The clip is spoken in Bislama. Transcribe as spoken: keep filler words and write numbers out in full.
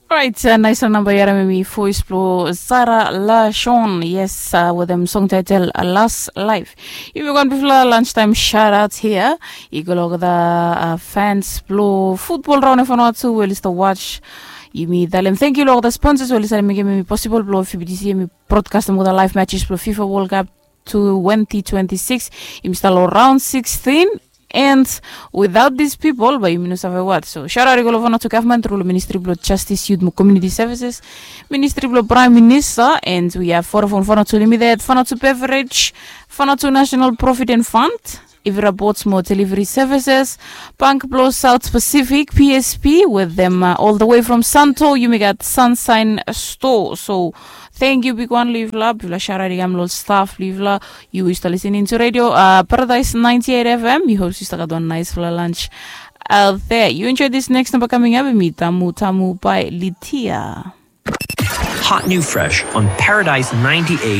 Orait, nais long namba i harim em i voes blong Zara Lashon. Yes, wetem song taitel Las Laif. Yumi go wan bifala lunchtaim shout out hia. I go long olgeta fans blong futbol raon ya fanau tu we oli stap watch. Yumi talem thank you long olgeta sponsors we oli save mekem em i posibol blong F B T C em i broadcastem olgeta live matches blong FIFA World Cup twenty twenty-six. Yumi stap long round sixteen. And without these people bae yumi no save wat. So shout out i go long Vanuatu government through long Ministry blong Justice, Youth mo Community Services, Ministry blong Prime Minister, and we have Vodafone Vanuatu Limited, Vanuatu Beverage, Vanuatu National Provident Fund, Ivira Boats mo Delivery Services, Bank blong South Pacific, P S P, wetem all the way from Santo yumi gat Sunshine Store. So thank you bigwan long yufala. Bigfala shout out i kam long staff blong yufala. Yu stap listening to radio Paradise ninety-eight F M. Mi hope yu stap gat wan naisfala lunch out there. Yu enjoy this next number coming up. Mi Tamu Tamu by Litia. Hot new fresh on Paradise ninety-eight